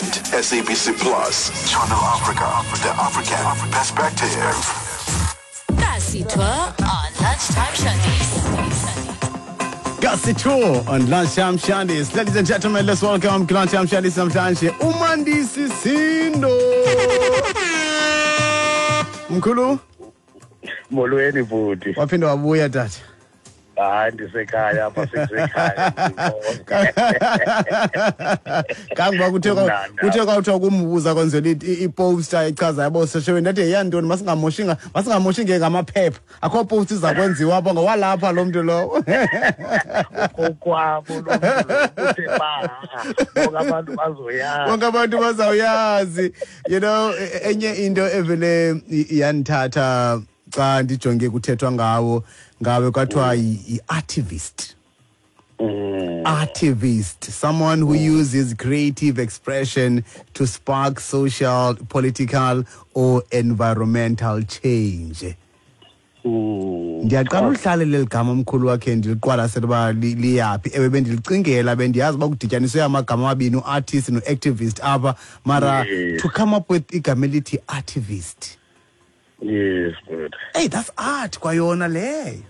and SABC Plus. Channel Africa, the African perspective. Kasi Tour on Lunchtime Shandies. Kasi Tour on Lunchtime Shandies. Ladies and gentlemen, let's welcome Lunchtime Shandies namhlanje uMandisi Sindo. Mkhulu. Molweni bhuti. Waphinde wabuya tata. Hayi, ndisekhaya apha, sekusekhaya. Kangoba kuthe kwawuthiwa kumbuza kwenzela iposter echaza yabo sesheweni, ndathi yeyantoni, masingamoshi ngamaphepha, akho poster iza kwenziwa apha ngowalapha lo mntu lowo. Kokwabo lo mntu uthe ba bonke abantu bazoyazi. Bonke abantu bazawuyazi. Enye into evele yandithatha xa ndijonge kuthethwa ngawo ngawe kwathiwa yi-artivist. Artivist, someone who uses creative expression to spark social, political or environmental change. Ndiyaqala uhlale leli gama mkhulu wakhe ndiliqwalasela uba liyaphi. Ewe, bendilicingela, bendiyazi uba kudityaniswe amagama amabini, u-artist no-activist apha, mara to come up with igama elithi artivist. Yes, good. Hey, that's art kwayona leyo.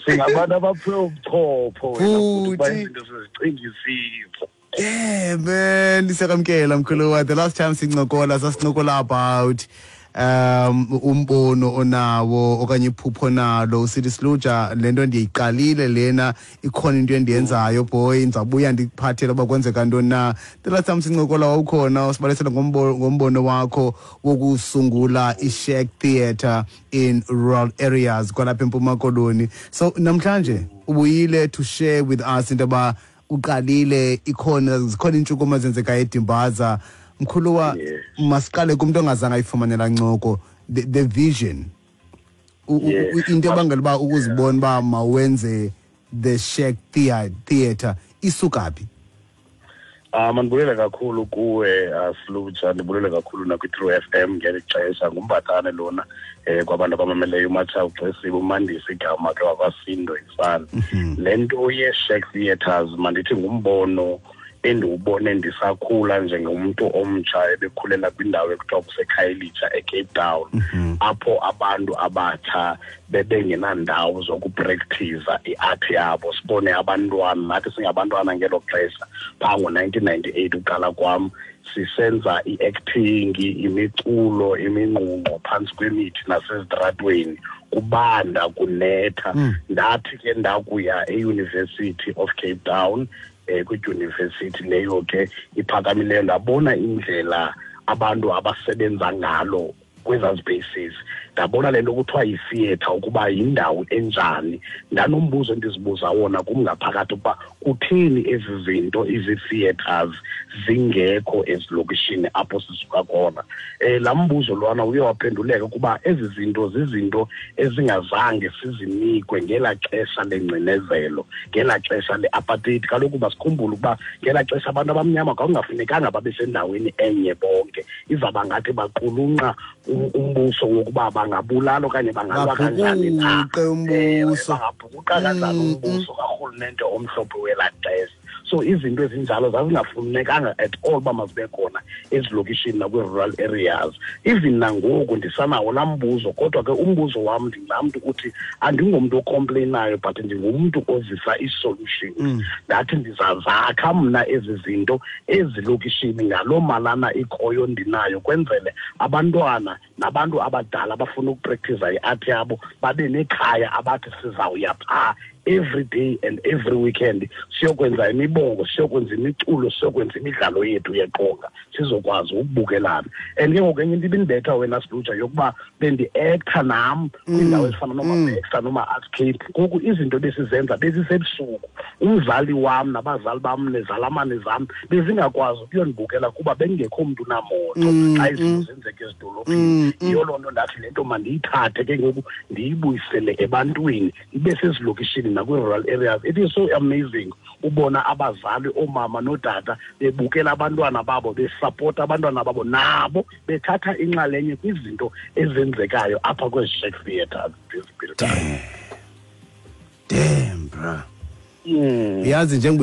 Singabantu abaphiwe ubuchopho wena futhi uba izinto sizicingisisa. Yeah, man, ndisekamkela mkhulu. The last time sincokola, sasincokola about umbono onawo okanye iphupho nalo, usithi Siluja le nto ndiyiqalile lena, ikhona into endiyenzayo boy, ndizabuya ndikuphathele uba kwenzeka ntoni na. The last time sincokola wawukhona usibalisela ngombono wakho wokusungula i-Shack Theatre in rural areas kwalapha eMpuma Koloni. So namhlanje ubuyile to share with us into yoba uqalile, ikhona zikhona iintshukumo ezenzekayo eDimbaza. Mkhuluwa, masiqale kumntu ongazange ayifumanela ncoko, the vision, into ebangela uba ukuzibona uba mawenze the Shack Theatre isuka phi? Mandibulele kakhulu kuwe, Siluja, ndibulele kakhulu nakwi-True FM ngeli xesha. Ngumbatane lona kwabantu abamameleyo, uMatsha uXesibe, uMandisi igama ke wakwaSindo ifana. Le nto ye-Shack Theatres mandithi ngumbono endiwubone ndisakhula njengomntu omtsha ebekhulela kwindawo ekuthiwa kuseKhayelitsha eCape Town, apho abantu abatsha bebengenandawo zokupractiza i-art yabo. Sibone abantwana, nathi singabantwana ngelo xesha phaa ngo-1998 uqala kwam, sisenza i-acting, imiculo, imingqungqo phantsi kwemithi nasezitratweni, kubanda kunetha. Ndathi ke ndakuya e-University of Cape Town, kwidyunivesithi leyo ke iphakamileyo, ndabona indlela abantu abasebenza ngalo kwezaa spaces. Ndabona le nto kuthiwa yi-theatre ukuba yindawo enjani. Ndanombuzo endizibuza wona kum ngaphakathi ukuba kutheni ezi zinto izi-theatres zingekho ezilokishini apho sisuka khona. Laa mbuzo lwana uye waphenduleka ukuba ezi zinto zizinto ezingazange sizinikwe ngelaa xesha lengcinezelo, ngelaa xesha le-apartheid. Kaloku masikhumbule ukuba ngelaa xesha abantu abamnyama kwakungafunekanga babe sendaweni enye bonke, izawuba ngathi baqulunqa umbuso wokuba bangabulala okanye bangalwa kanjani na, bangabhukuqa kanjani umbuso karhulumente omhlophe welaa xesha. So izinto ezinjalo zazingafunekanga at all uba mazibe khona ezilokishini nakwi-rural areas. Even nangoku ndisanawo laa mbuzo, kodwa ke umbuzo wam ndingulaa mntu uthi andingomntu ocomplainayo, but ndingumntu ozisa ii-solutions. Ndathi ndizazakha mna ezi zinto ezilokishini ngaloo malana ikhoyo ndinayo, kwenzele abantwana nabantu abadala abafuna ukupractiza i-art yabo babe nekhaya abathi sizawuya phaa every day and every weekend, siyokwenza imibongo, siyokwenza imiculo, siyokwenza imidlalo yethu yeqonga, sizokwazi ukubukelana. And ke ngoku enye into ibindibetha wena Siluja yokuba bendi-acta nam kwiindawo ezifana nooma-Baxter nooma-Art Cape. Ngoku izinto besizenza bezisebusuku, umzali wam nabazali bam nezalamane zam bezingakwazi ukuyondibukela kuba bengekho mntu namoto xa izinto zenzeka ezidolophini. Yiyo loo nto ndathi le nto mandiyithathe ke ngoku ndiyibuyisele ebantwini, ibe sezilokishini nakwi-rural areas. It is so amazing ubona abazali, oomama nootata bebukela abantwana babo, besapota abantwana babo, nabo bethatha inxalenye kwizinto ezenzekayo apha kwezi Shack Theatres. Damn, bra. Yazi njengoba